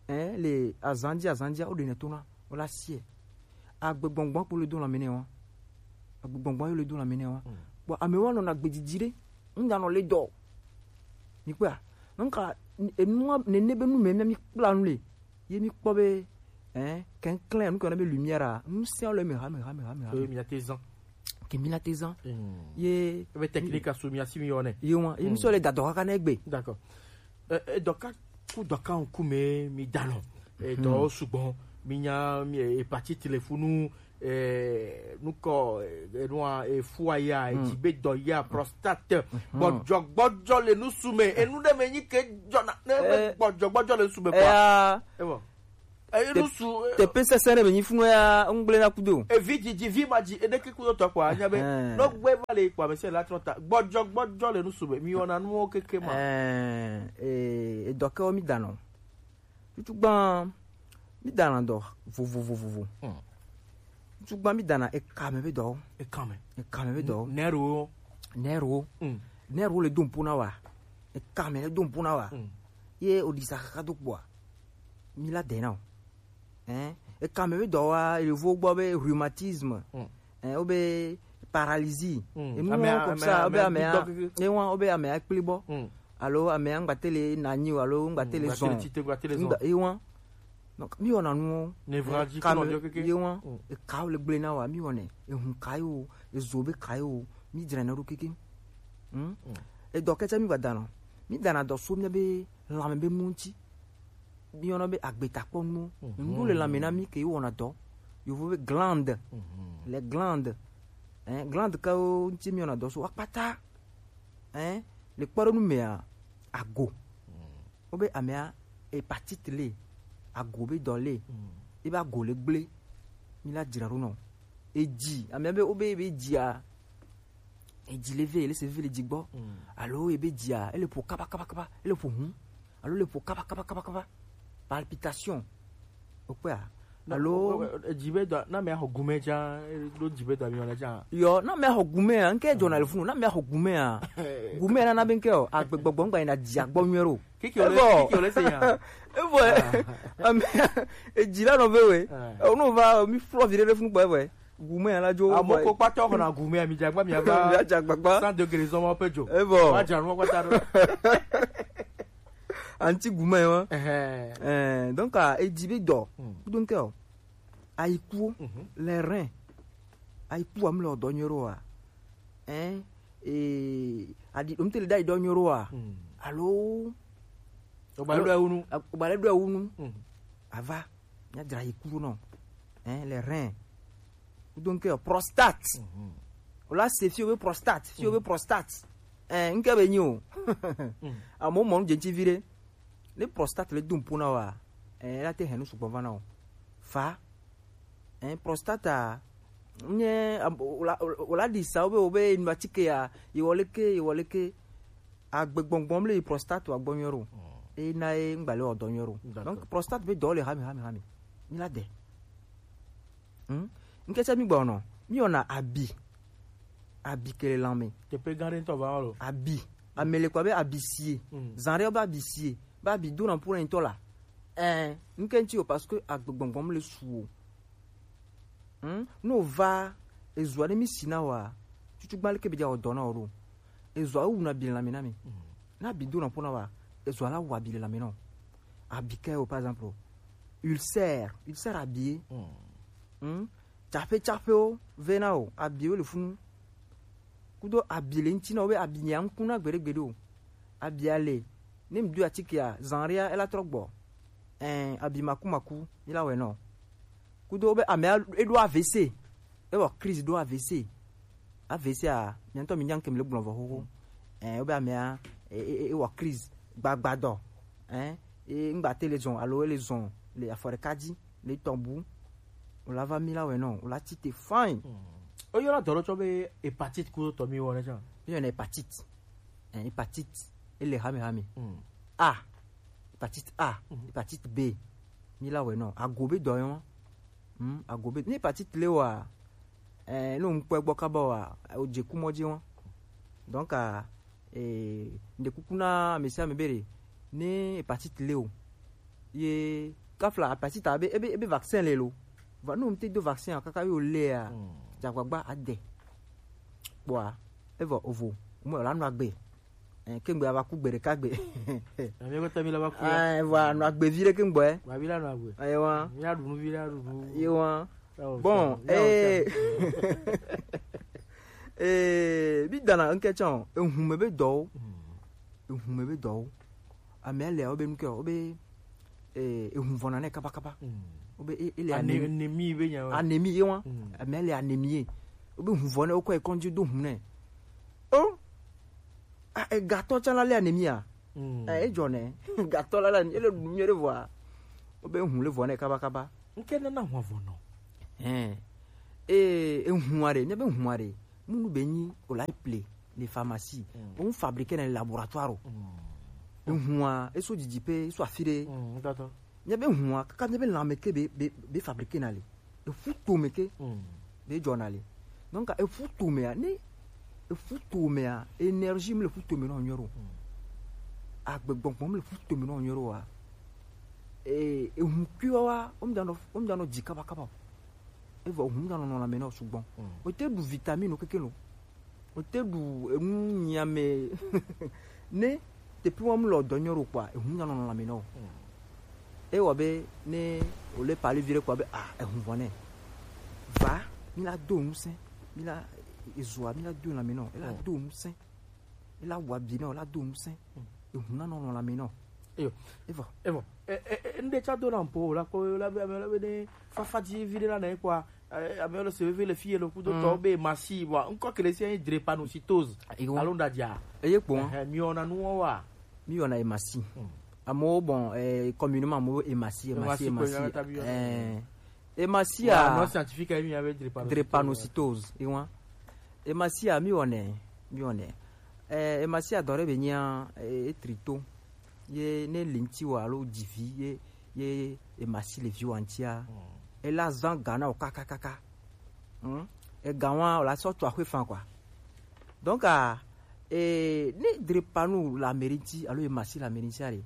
hein, le azan dzi, azan dzia, wo ɖenɛ tona, wo la sie. Agbegbɔngbɔn kpo le do lãme nɛ wa. Agbegbɔngbɔn yo le do lãme nɛ wa. Mm. Bon, amewo nɔna gbedzidzi ɖe. Ŋda nɔ le dɔ. Mi kpɔa? Nka enua nene be nu me mi kpla nu le. Ye mi kpɔ be, hein, kɛnklɛn, nu ke wɔna be lumière a, nu sia le me ha, me ha, me ha, me ha. Ke mi na te zan. Ke mi na te zan. Mm. Ye ebe technique asu mi asi mi yɔ nɛ. Ye wa, ye mi sɔ le dadɔ kaka na egbe. D'accord. Eh, eh, dɔka ku dɔka ŋku me mi danɔ. Eh, dɔ sugbɔ mi nya mi, eh, hépatite le funu, eh, nukɔ, eh, enua, eh, fua ya, eh, dzi be dɔ ya, prostate. Gbɔdzɔ, gbɔdzɔ le nusu me. Enu ɖe me nyi ke dzɔna, ne me gbɔdzɔ, gbɔdzɔ le nusu me kpɔa. Eya. Ewo. Eh, nusu, eh, tepe sese ne be nyi funu ya, ŋgble na kudo. Evi dzi, dzi vi ma dzi, ene ke kudo tɔ kpɔa, nya be, no gbe va le kpɔa, me se la trɔ ta. Gbɔdzɔ, gbɔdzɔ le nusu me. Mi wɔna nuwo keke ma. Eh, eh, edɔ kewo mi danɔ. Tutugbã, mi dana dɔ vovovovovo. Hmm. Tutugbã mi dana ekame be dɔ. Ekame. Ekame be dɔ. Nɛro. Nɛro. Hmm. Nɛro le do ŋpo na wa. Ekame le do ŋpo na wa. Hmm. Ye oɖisa kaka do kpɔa, mi la dena o. Hein? Ekame be dɔ wa, yevo gbɔ be rhumatisme. Hmm. Eh, wobe paralysie. Mm. Enu ame, comme ame, ça, wobe ame, amea, ame, ewa, wobe amea kpli bɔ. Mm. Alo amea ŋgbate le nanyi o, alo ŋgbate le zɔn. Ŋgbate le tite, ŋgbate le zɔn. Ŋgba-, ewa. Donc, mi wɔna nuwo. Névralgie, eh, kame, kɔnɔ jɔ keke. Ewa. Mm. Ekawo le gble na wa, mi wɔnɛ. Ehun kayo, ezo be kayo, mi dzrana ɖo keke. Hmm? Mm. Edɔ kɛtɛ mi gba dana. Mi dana dɔ so mi be lãme be nu ŋti. Mi yɔna be agbetakpɔnuwo. Mhm. Nu le lãme na mi ke wɔna dɔ. Yovo be glande. Mhm. Les glandes. Hein, glande kawo ŋti mi wɔna dɔ so akpata. Hein, le kpɔɖonu mea, ago. Mhm. Wobe amea hépatite le, ago be dɔ le. Mhm. Ebe ago le gble. Mi la dzra ɖo nɔ. Edzi, amea be, wobe, be dzia, edzi le ve, ele se ve le dzi gbɔ. Mm. Alo ebe dzia, ele ƒo kaba, kaba, kaba, ele ƒo hu. Alo le ƒo kaba, kaba, kaba, kaba. Palpitation. Okpɔa? Na, alo o, o, edzi be dɔ, na mea xɔ gume dza, ɖo dzi be dɔ mi wɔna dza. Yɔ, na mea xɔ gume a, ŋke dzɔna le funu, na mea xɔ gume a. Gume na na be ŋke o, agbegbɔgbɔ ŋgba yina dzia gbɔ nyuie ɖo. Kiki ole, kiki ole se nya. Evɔ, ah, ame, edzi la nɔ ve we. Ah. Ono va, mi flɔ vi ɖe ɖe funu gbɔ evɔ. Gume la dzo. Amo ko kpatɔ xɔna gume, mi dzagba mi ava. Mi adzagbagba. Sans degré zɔn ma pe dzo. Evɔ. Wa dza nu kpata ɖo. Anti gume wa. Ɛhɛn. Eh, donc, ah, edzi be dɔ. Hmm. Donc, oh. Ayiku, les reins. Ayiku wa mu le ɔdɔ nyoro wa. Hein? Et adi dom te le dai dɔ nyoro wa. Alo o ba le do awunu. O ba le do awunu. Ava. Nya dra ayiku no. Hein, les reins. Donc euh, prostate. O la se fi o be prostate, fi o be prostate. Hein, nke be nyi o. Amo mo je ti vire. Ne prostate le dum puna wa. Hein, la te henu sugbon va na o. Fa. Hein, prostate a, nye am- o la o la- o la di sa o be o be nu atike ya, iwoleke iwoleke. Agbegbɔngbɔn le prostate wa gbɔ nyoro. E na e ngba le ɔdɔ nyoro. Donc prostate be dɔ le hami hami hami. Mi la de. Hmm? Nke se mi gbɔ no. Mi ona abi. Abi kele lame. Te pe gare to va lo. Abi. Amele kwa be abi sie. Zanre ba abi sie. Ba abi do na pour un tola. Eh, nke nti o parce que agbegbɔngbɔn le suo. Hmm? No va ezua ne mi sina wa. Tutu gbali ke be ja ɔdɔ na oro. Ezua u na bi lame na mi. Na bi do na pour na wa. Ezua la wa bi lame no. Abi ke o par exemple. Ulcère, ulcère abi. Hmm? Tsaƒe tsaƒewo vɛ na o, abiwo le funu. Kudo abi le ŋuti na wo be abi nya ŋku na gbeɖe gbeɖe o. Abia le, ne ŋdu atikea, zanria ela trɔ gbɔ. Ɛn, abi maku maku, mi la wɛ nɔ. Kudo be amea eɖo A V C, ewɔ crise ɖo A V C. A V C a, mia ŋutɔ mi nya ŋke mi le gblɔ vɔ xoxo. Ɛn, wo be amea e, e, e, ewɔ crise gbagbadɔ. Ɛn, e ŋgba te le zɔn alo ele zɔn le afɔ ɖeka dzi le tɔn bu. O la va mi la wɛ nɔ, o la ti te fine. O yɔna dɔ ɖe tsɔ be hépatite kudo tɔ mi wɔ ne tsã. Mi yɔna hépatite. Ɛn, hépatite ele hame hame. A, hépatite A, hépatite B. Mi la wɛ nɔ. Ago be dɔ yɔ. Hmm, ago be. Ni hépatite le wa, eh, no ŋkpɔ gbɔ kaba wa, o je ku mɔ dzi wa. Donc, ah, eh, nde kuku na ame sia ame be ɖe, ne hépatite le o. Ye kafla hépatite a be, ebe, ebe vaccin le lo. Va no mte do vaccin a kaka yo le a. Dzagbagba ade. Kpɔa, evɔ ovo. Mo la nɔ agbe. Eh, kengbe ava ku gbe ɖeka gbe. Ami ko tami la va ku. Ah, voilà, no agbe vi ɖe kengbe. Wa vi la no agbe. Ayi wa. Mi la ɖu nu vi la ɖu nu. Ayi wa. Bon, eh, eh, mi dana ŋke tsã, ehun me be dɔwo. Ehun me be dɔwo. Ame le o be nu ke o be, eh, ehun vɔna ne kaba kaba. O be e, ele anémie. Anémie be nya. Anémie ye wa. Ame le anémie. O be hun vɔ ne o ko e kɔndzi do hun ne. O, a, e gatɔ tsã la le anemia. Mm. Eh, edzɔ nɛ. Gatɔ la le anemia, ele ɖu nyuie ɖe vɔa. Wobe hu le vɔ nɛ kaba kaba. Ŋke nana hua vɔ nɔ. Hein. Eh, ehua ɖe, ne be hua ɖe. Munu be nyi o la ple le pharmacie. Mm. O fabriquer na laboratoire o. Mm. Ehua, eso didi pe, eso afi ɖe. Mm, ŋutɔtɔ. Nye be hua, kaka nye be lãme ke be, be, be fabriquer na le. Eƒu tome ke. Mm. Be dzɔna le. Donc eƒu tomea, ne eƒu tomea, énergie me le ƒu tome no nyoro. Mm. Agbegbɔgbɔ me le ƒu tome no nyoro wa. E, ehu kuiwa wa, o mdano, o mdano dzi kaba kaba. Evɔ ehu mdano no la me no sugbɔn. Mm. O te ɖu vitamine keke no. O te ɖu enu nyame ne teƒe wɔm le dɔ nyɔ ɖo kpɔa, ehu nya nɔ lãme nɔ. Ewɔ be ne o le pali vi ɖe kpɔa be, ah, ehu vɔ nɛ. Va, mi la do ŋusẽ, mi la ezua, mi la do lãme nɔ, e la do ŋusẽ, e la wɔ abi nɔ, e la do ŋusẽ, ehu na nɔ lãme nɔ. Eyo. Evɔ. Evɔ. E, e, e, ŋɖe tsa do na ŋpo, la kpɔ, la be, la be ne fafa dzi vi ɖe la nɛ kpɔa, eh, ame le se veve le fie le kudo tɔ be masi, wa, ŋkɔ ke le sia drépanocytose. Alo ŋɖa dia. Eye kpɔ. Eh, mi wɔna nu wa. Mi wɔna emasi. Amewo, bon, eh, communément amewo emasi, emasi, emasi. Eh, emasi a. Non scientifique, mi ave drépanocytose. Drépanocytose, ewa. Emasi a, mi wɔnɛ, mi wɔnɛ. Eh, emasi a dɔ ɖe be nyia, eh, etrito. Ye ne le ŋti wa alo dzi vi ye, ye emasi le vi wa ŋtia, ela zan ga na o kakakaka. Hmm? E ga wa o la sɔ tso axwe fan quoi. Donc, ah, eh, ne drépano le ame ɖe ŋti alo emasi le ame ɖe ŋti a ɖe.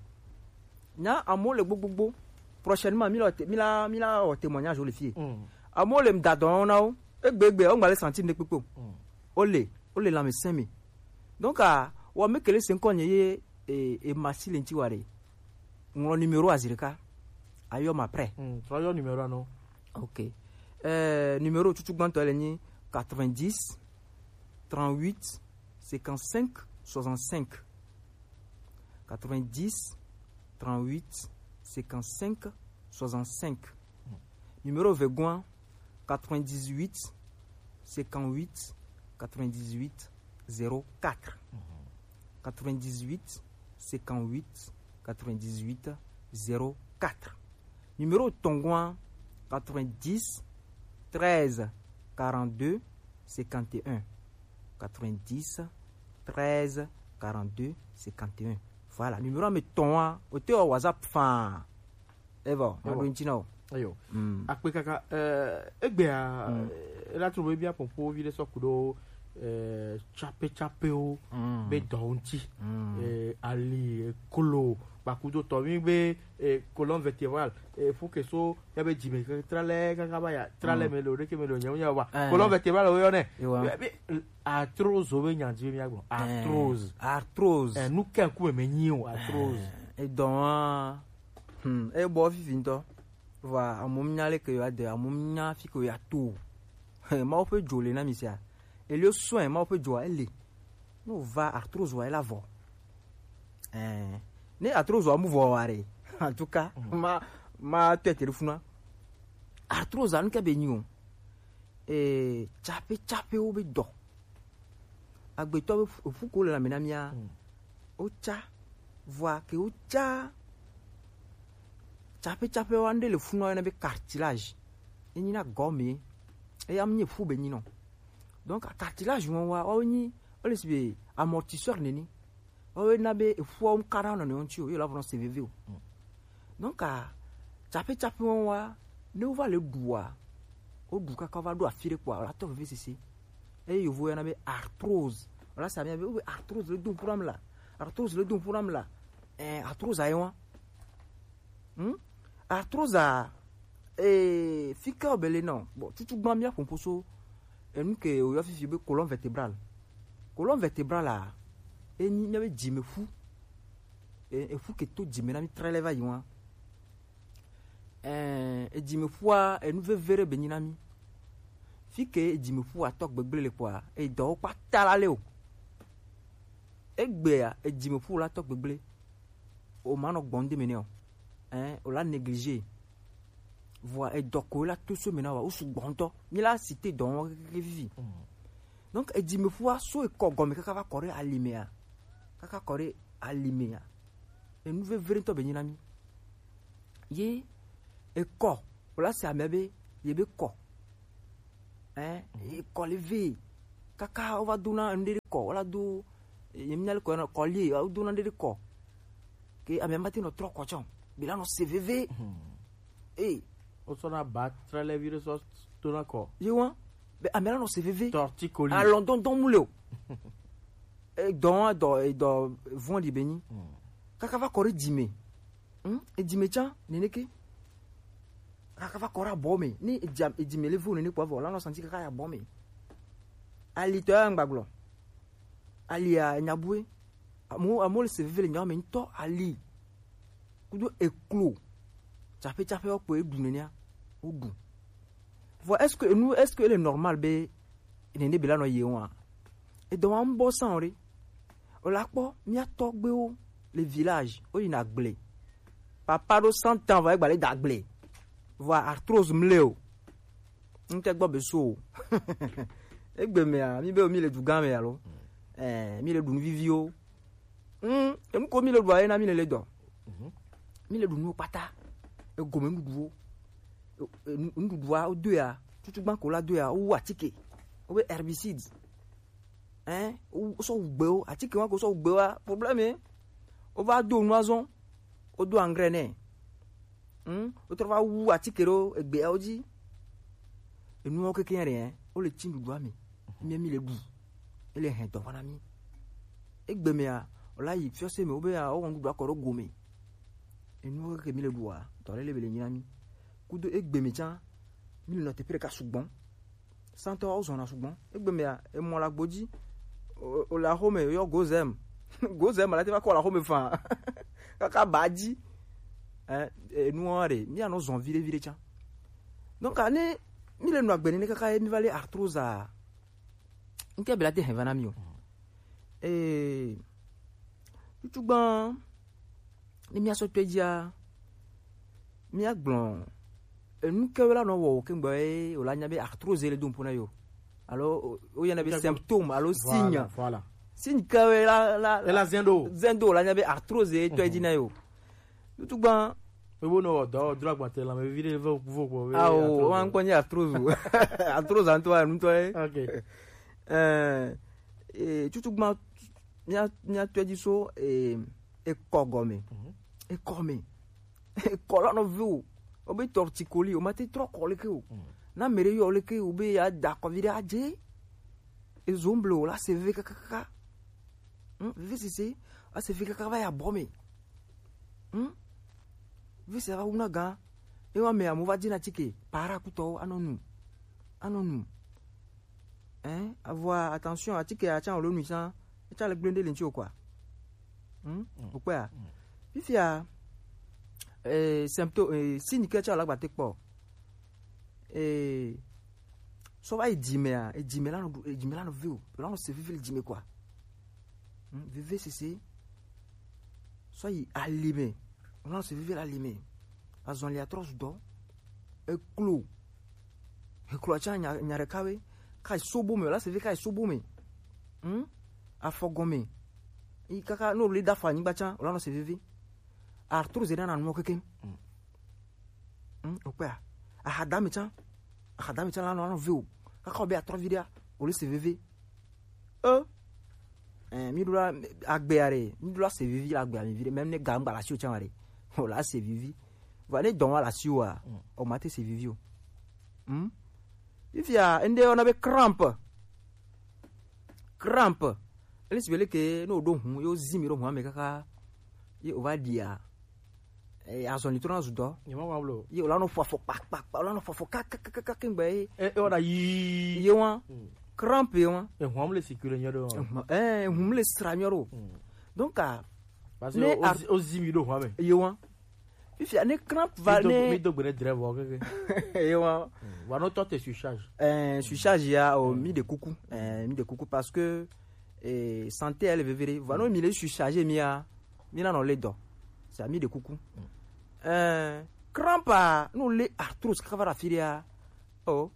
Nya amewo le gbogbogbo. Prochainement, mi la, mi la, mi la wɔ témoignage le fie. Amewo le ŋda dɔ na wo. Egbe egbe, o ŋgba le sentir ne kpekpe o. O le, o le lãmesẽ me. Donc, ah, wa me kele se ŋkɔ nye ye, eh, emasi le ŋti wa ɖe. Ŋlɔ numéro a zi ɖeka. Ayɔ ma prêt. Hmm, trɔ yɔ numéro a nɔ. Ok. Euh, numéro tutu gbãtɔ le nyi quatre-vingt-dix, trente-huit, cinquante-cinq, soixante-cinq. Quatre-vingt-dix, trente-huit, cinquante-cinq, soixante-cinq. Numéro vegoin, quatre-vingt-dix-huit, cinquante-huit, quatre-vingt-dix-huit, zéro quatre. Quatre-vingt-dix-huit, cinquante-huit, quatre-vingt-dix-huit, zéro quatre. Numéro tongoin, quatre-vingt-dix, treize, quarante-deux, cinquante et un. Quatre-vingt-dix, treize, quarante-deux, cinquante et un. Voilà, numéro à me tongoin, au théo WhatsApp, fin. Evo, ma do ntsi na o. Eyo. Akpe kaka, eh, egbea, eh, la trouve bien pour pour vide so kudo, eh, chape chape o, be dɔ ŋuti, eh, ali, eh, kolo, bakudo tɔ mi be, eh, colonne vertébrale, eh, faut que so, ya be dzi me ke tralɛ kaka ba ya, tralɛ me le o, ɖeke me le o, nya nya wa. Colonne vertébrale o yɔ nɛ. Be, be, arthrose o be nya dzi be mi agblɔ. Arthrose. Arthrose. Eh, nu ke ŋku me me nyi o, arthrose. Edɔ wa. Hmm, e bɔ fifi ŋutɔ. Vɔa, amewo nya leke yewoade, amewo nya fi ke yewoato o. Mawu ƒe dzo le na mi sia. Elio soin, Mawu ƒe dzoa, ele. Ne wòva arthrose wa, ela vɔ. Eh, ne arthrose wa mu vɔ wa ɖe, en tout cas, ma, ma tɔe te ɖe funua. Arthrose anu ke be nyi o. Eh, tsaƒe tsaƒewo be dɔ. Agbetɔ be fu ko le lãme na mía. Wotsa, vɔa ke wotsa tsaƒetsaƒe wa, ŋɖe le funua yɔna be cartilage. Enyi na gɔme. Eya nye fu be nyi nɔ. Donc cartilage wɔn wa, wɔn nyi, wole si be amortisseur neni. Wɔn na be efuawo ŋka na nɔnɔewo ŋuti o, ye la vɔ nɔ se veve o. Donc tsaƒetsaƒe wɔn wa, ne wova le ɖua, woɖu kaka va ɖo afi ɖe kpɔa, wòla tɔ vevesese. Eye yovo yɔna be arthrose. Wòla se amia be, wobe arthrose le dum ƒu nam la. Arthrose le dum ƒu nam la. Eh, arthrose aye wa. Hmm? Arthrose a, eh, fi ke wòbe le nɔ. Bon, tutu gbã mía ƒoƒo so enu ke wòyɔ fifi be colonne vertébrale. Colonne vertébrale a, enyi mía be dzime ƒu. Eh, eƒu ke to dzime na mi trɛlɛ va yi wa. Eh, edzime ƒua, enu veve ɖe be nyi na mi. Fi ke edzime ƒua tɔ gbegble le kpɔa, edɔwo kpata la le o. Egbea, edzime ƒu la tɔ gbegble. O ma nɔ gbɔn de me ne o. Hein, o la négliger. Vɔa edɔ ko la to so me na wa, o su gbɔntɔ. Mi la citer dɔ wɔn keke vivi. Donc edzime ƒua so ekɔ gɔme kaka va kɔ ɖe alimea. Kaka kɔ ɖe alimea. Enu vevre ŋutɔ be nyi na mi. Ye ekɔ, o la se ame be, ye be kɔ. Hein, ye kɔ le ve. Kaka o va do na ŋɖe ɖe kɔ, o la do, ye mi nya le kɔ na kɔ li, o do na ŋɖe ɖe kɔ. Ke ame ma te nɔ trɔ kɔ tsɔ. Be la nɔ se veve. Eh. O sɔ na ba trɛlɛ vi ɖe sɔ to na kɔ. Ye wa, be ame la nɔ se veve. Torticolis. Alɔndɔndɔn mu le o. Edɔ wa dɔ, edɔ vɔn di be nyi. Kaka va kɔ ɖe dzime. Hmm? Edzime tsã, neneke. Kaka va kɔ ɖe abɔ me. Ni edzia, edzime le vo nene kpɔ vɔ, la nɔ santi kaka ya abɔ me. Ali tɔ ya ŋgba gblɔ. Ali ya nya bue. Amewo, amewo le se veve le nyawo me ŋutɔ, ali. Kudo eklo. Tsaƒe tsaƒe wo kpɔ eɖu nenea. Woɖu. Vɔ, est-ce que enu, est-ce que ele normal be nene be la nɔ ye wa? Edɔ wa ŋbɔ san o ɖe. O la kpɔ, mía tɔgbewo le village, wo yina gble. Papa ɖo cent ans vɔ egba le da gble. Vɔ arthrose mle o. Ŋke gbɔ be so o. Egbe mea, mi be mi le du gã me alo? Eh, mi le ɖu nu viviwo. Hmm, enu ko mi le ɖua ye na mi le le dɔ. Mi le ɖu nuwo kpata. Egome nuɖuɖuwo. E, e, nu-, nuɖuɖua, wo doea, tutu gbã ko la doea, wo wu atike. Wo be herbicide. Hein? Wo sɔ wu gbewo, atike wa ko sɔ wu gbewa, problème ye. Wo va do nu azɔ, wo do engrais nɛ. Hmm? Wo trɔ va wu atike ɖo egbeawo dzi. Enuwo keke ɖe, hein? Wo le tsi nuɖuɖua me. Mi, mi le ɖu. Ele hɛn dɔ va na mi. Egbe mea, o la yi fiɔse me, wo be ya, wo wɔ nuɖuɖua kɔ ɖo gome. Enuwo ke mi le ɖua, dɔ lele be le nyi na mi. Kudo egbe me tsã, mi le nɔ teƒe ɖeka sugbɔ. Santɔ wo zɔna sugbɔ. Egbe mea, emɔ le agbo dzi. O, o le axome, yɔ gozem. Gozem la te va kɔ le axome fã. Kaka ba dzi. Eh, enuwo ɖe, mi anɔ zɔn viɖe viɖe tsã. Donc, ne Mi le nɔ agbe nene kaka ye mi va le arthrose a. Nke bela te hɛn va na mi o. Ee, tutu gban, ne mia sɔ tɔe dzia, mia gblɔ enu ke wo la nɔ wɔ o ke ŋgbɔ ye o la nya be arthrose le do ŋpo na yo. Alo o yɛna be symptôme alo signe. Voilà. Signe ke wo la la la zendo zendo o la nya be arthrose ye tɔe dzi na yo. Tutu gban. Ebo no dɔ dro agbate la me vi de vo vo vo. Awo, o an kpɔnye arthrose. Arthrose anto anu tɔe. OK. Eh, eh, tutu gban, mia mia tɔe dzi so, eh, ekɔ gɔme. Ekɔ me. Ekɔ la nɔ ve o. O be torticolis, o ma te trɔ kɔ leke o. Na mere yo leke o be ya da kɔ vi de adze. Ezo mble o la se ve kakaka. Hmm, vivi sese, a se vi kaka va ya bɔ me. Hmm? Vivi sese va wuna gan. E wa me amu va dina tike, para kutɔ anɔ nu. Anɔ nu. Hein? Avoir attention à tike a tsan o lo nu san. E tsa le gblende le ntsi o quoi. Hmm? O quoi? Fifia, eh, symptôme, eh, signe ke tsa la gbate kpɔ. Eh, sɔ va yi dzi mea, edzi me la nɔ ɖu, edzi me la nɔ ve o, la nɔ se vivi le dzi me quoi. Hmm, veve sese. Sɔ yi ali me, la nɔ se vivi le ali me. Azɔn le atrɔ sudɔ. Eklo. Eklo atsa nya nya ɖeka we. Ka yi sobo me, la se vivi ka yi sobo me. Hmm? Afɔ gɔme. Yi kaka no le da afɔ anyigba tsa, la nɔ se vivi. Arthrose na na nu keke. Hmm, o kpea. Ahadame tsa. Ahadame tsa la nɔ anɔ ve o. Kaka o be atrɔ vi ɖea, o le se veve. E. Eh, mi ɖo la agbea ɖe, mi ɖo la se vivi la agbea mi vi ɖe. Même ne gangba la si o tsa ɖe, o la se vivi. Va ne dɔn wa la si o a, o ma te se vivi o. Hmm? Fifia, ende ona be crampe. Crampe. Ele si be le ke no do hun, yo zi mi do hun ame kaka. Ye o va dia. Eh, azɔn ni trɔ na zu dɔ. Ye ma wa blo. Ye o la no fɔ afɔ kpa kpa kpa, o la no fɔ afɔ ka ka ka ka ka kengbe ye. E e wada yi. Ye wa. Crampe ye wa. E hwam le sikule nyo do. Eh, hum le sra nyo do. Donc a. Parce que ne o zi- o zi mi do hwam me. Ye wa. Fifia ne crampe va Mi do- ne. Mi do gbere drɛ vɔ keke. Ye wa. Wa no tɔ te surcharge. Eh, surcharge ya o mi de kuku. Eh, mi de kuku parce que eh, santé elle vevere. Va no mi le surcharge mi ya. Mi na no le dɔ. C'est à mi de kuku. Eh, crampe a no le arthrose kaka va da fi ɖea. Oh,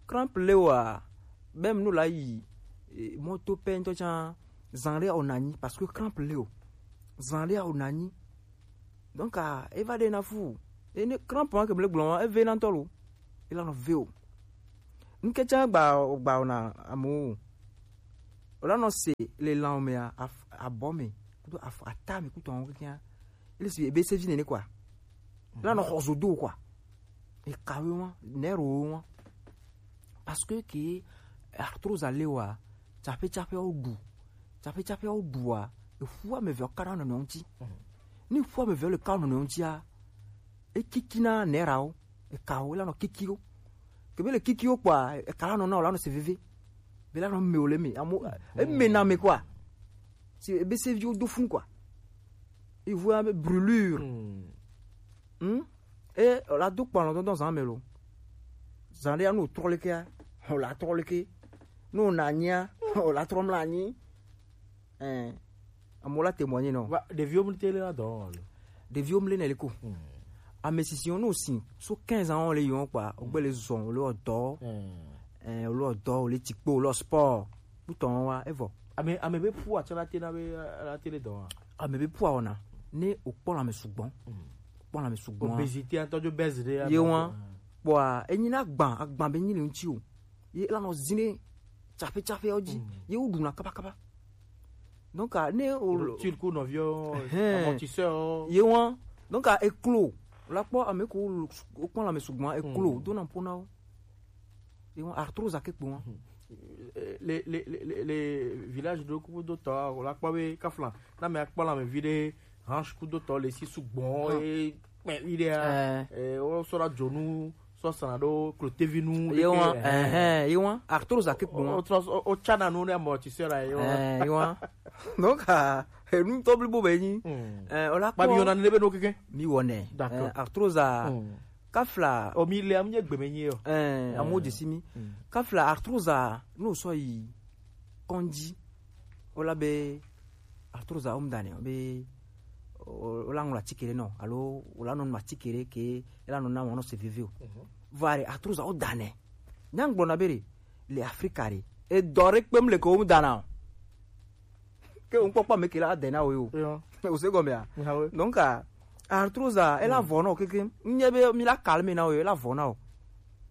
crampe le wa. Même no la yi eh, moto pɛ ŋtɔ tsa zan ɖe o nanyi parce que crampe le o. Zan ɖe o nanyi. Donc a e va ɖe na fu. E ne crampe ma ke ble gblɔ ma e ve na ŋtɔ lo. E la nɔ ve o. Ŋkɛtsa gba gba o na amewo. O la nɔ se le lan o mea, af- abɔ me kudo af- ata me kudo awon kekea. Ele si ebe se vi nene quoi. La nɔ xɔ zodo quoi. E kawe wa, nero wa. Parce que ke arthrose ale wa, tsaƒe tsaƒe o ɖu. Tsaƒe tsaƒe o ɖua, eƒu ame eve ka ɖe nɔnɔewo ŋuti. Ne ƒu ame eve le ka nɔnɔewo ŋutia, ekikina nerawo, ekawo la nɔ kikiwo. Kebe le kikiwo kpɔa, eka la nɔ na o la nɔ se veve. Be la nɔ me o le me, amo eme na me quoi. Si ebe se viwo do fun quoi. Ivoire be brûlure. Hmm. Hmm? E o la do kpɔ alɔ dɔdɔ zan me lo. Zan ɖe anu trɔ leke a, o la trɔ leke. No na nyia, o la trɔ mla nyi. Eh, amewo la témoigner nɔ. Va ɖeviwo mli tele la dɔ wɔm alo? Ɖeviwo mli ne le ko. Ame sisiwo no si so quinze ans le yon kpa, o gbe le zɔn o le ɔdɔ. Eh, o le ɔdɔ, o le tikpo, o le sport. Kutɔn wa evɔ. Ame ame be pu atsɔ la te na be la te le dɔ wa. Ame be pu awɔna ne o kpɔ la me sugbɔn. Kpɔ la me sugbɔn. Obésité, atɔ jo bɛzi de. Ye wa. Kpɔa enyi na agban, agban be nyi le ŋuti o. Ye la nɔ zine tsaƒe tsaƒe o dzi. Ye wo ɖuna kaba kaba. Donc a ne o Routine ku nɔviwo. Amortisseur. Ye wa. Donc a eklo. La kpɔ ame ko wo kpɔ la me sugbɔn eklo do na ƒo na wo. Ye wa arthrose ake kpo wa. Le le le le village do ku do tɔ la kpɔ be kafla na me akpɔ la me vi de hanche ku do tɔ le si sugbɔn e kpɛ vi de a. Eh, o sɔ la dzonu sɔ sana do klotevinu. Ye wa, eh, ye wa arthrose ake kpo wa. O trɔ o tsana nu ne amortisseur la ye wa. Eh, ye wa. Donc a enu tɔ blibo be nyi. Eh, o la kpɔ. Ba mi yona ne be no keke. Mi wɔ nɛ. D'accord. Eh, arthrose a. Kafla. O mi le amu nye gbeme nyi o. Eh, amu de si mi. Mm. Kafla arthrose a, no so yi konji. O la be arthrose a o mu dane, be o, o la ŋlɔ atikere no, alo o la nɔ nu atikere ke, e la nɔ na wɔnɔ se veve o. Mhm. Vare arthrose a o dane. Nyangblɔ na be re, le Afrika re. E dɔ re kpem le ke o mu dana o. Ke o ŋkpɔkpɔ me ke la dena o yo. Yo. O se gɔme a. Nyawe. Donc, a, arthrose a, e la vɔ no keke. Nye be mi la calme na o yo, e la vɔ na o.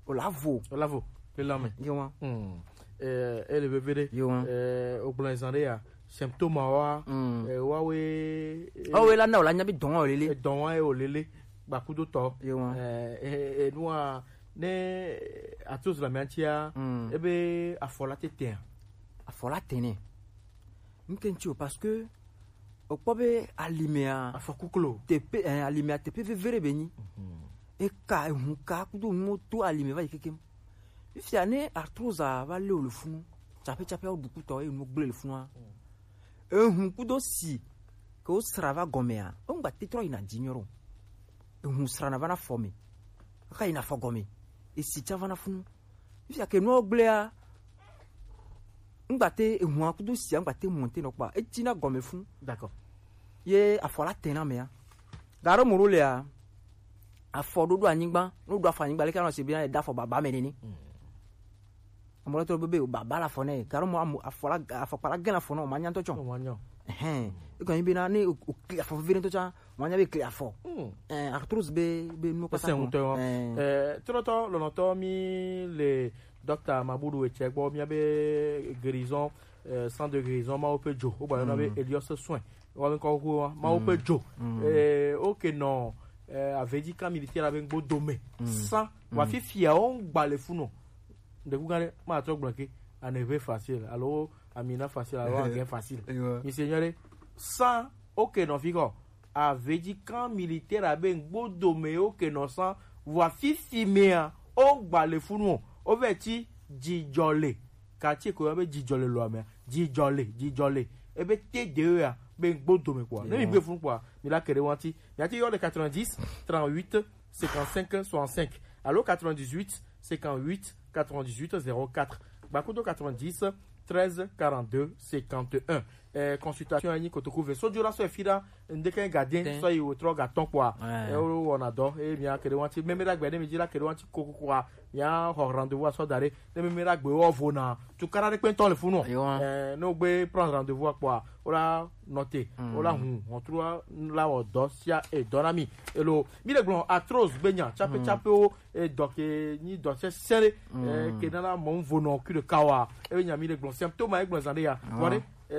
O la vo. O la vo. Le lame. Yo wa. Hmm. Eh, ele vevere. Yo wa. Eh, o gblɔ zan de ya. Symptôme wa. Hmm. Eh, wa we. Eh, o we la na o la nya bi dɔn o lele. Eh, dɔn wa e o lele. Gbakudo tɔ. Yo wa. Eh, eh, eh, nua, ne arthrose la mi antia. Hmm. Ebe afɔ la tete. Afɔ la tene. Nke ŋuti o, parce que o kpɔ be alimea afɔkuklo tepe, eh, alimea tepe vevere be nyi. Mhm. Eka, ehun ka kudo nuwo to alime va yi kekem. Fifia ne arthrose a va le o le funu, tsape tsape o dukutɔ e nu gble le funua. Ehun kudo si ke o sra va gɔmea, o ŋgba te trɔ yina dzi nyɔ ɖo. Ehun sra na va na fɔ me. Aka yina fɔ gɔme. Esi tsa va na funu. Fifia ke nuwo gblea, ŋgba te ehun kudo sia ŋgba te monte nɔ kpa. Eti na gɔme funu. D'accord. Ye afɔ la tena mea. Garo moro lea, afɔ ɖoɖo anyigba, no ɖo afɔ anyigba, leke anɔ se bi na e da afɔ baba me nene. Mm. Amɔ lɛ tɔ be, be baba la afɔ nɛ, garo mɔ afɔ la, afɔkpa la gɛn afɔ nɔ, o ma nya ŋutɔ tsɔ. O ma nya. Ɛhɛn. E kɔni be na ne o, o kli afɔ veve ŋutɔ tsã, o ma nya be kli afɔ. Mm. Ɛɛ, arthrose be, be nu kpata ŋutɔ. Ɛɛ, trɔtɔ lɔnɔtɔ mi le Docteur Mabudu etsɛ gbɔ, mia be guérison, eh, centre de guérison, Mawu ƒe dzo, wo gbayɔna be Helios soin. Wa be kɔ ko wa, Mawu ƒe dzo. Eh, oke nɔ, eh, avedzi kan militaire be ŋgbo dome. San, wa fifia wo ŋgba le funu. Ɖeku gã ɖe, ma trɔ gblɔ ke, aneve facile, alo amina facile, alo ange facile. Ewa. Mi se nyɔ ɖe, san, oke nɔ fi kɔ. Avedzi kan militaire abe ŋgbo dome wo ke nɔ san, vɔa fifi mea, o gba le funu o, o vɛ tsi dzidzɔ le, quartier ko yɔ be dzidzɔ le loa mea, dzidzɔ le, dzidzɔ le, ebe te de ya be ŋgbo dome kpɔa. Ne mi gbe funu kpɔa, mi la ke ɖe wanti, mi ati yɔ le quatre-vingt-dix, trente-huit, cinquante-cinq, soixante-cinq, alo quatre-vingt-dix-huit, cinquante-huit, quatre-vingt-dix-huit, zéro quatre, gbakudo quatre-vingt-dix, treize, quarante-deux, cinquante et un. Eh, consultation anyi kotoku ve. So jura so efi ɖa, ndeke ga den, so yi wo trɔ ga tɔn kpɔa. Eh, wo wɔna dɔ, e mia ke ɖe wanti, meme ɖa gbe ne mi dzi la ke ɖe wanti koko kpɔa. Mia xɔ rendez-vous asɔ da ɖe. Ne meme ɖa gbe wo vo na. Tukara ɖe kpɛntɔ le funu. Eh, ne wo gbe prendre rendez-vous kpɔa, wo la noter, wo la hun, on trouve la wɔ dɔ sia e dɔ na mi. Elo, mi le gblɔ arthrose be nya, tsape tsape wo, e dɔ ke nyi dɔ sɛsɛ ɖe, e ke nana mɔ ŋvo nɔ kui ɖeka wa. E be nya mi le gblɔ symptôme, e gblɔ zan ɖe ya. Vɔ ɖe, e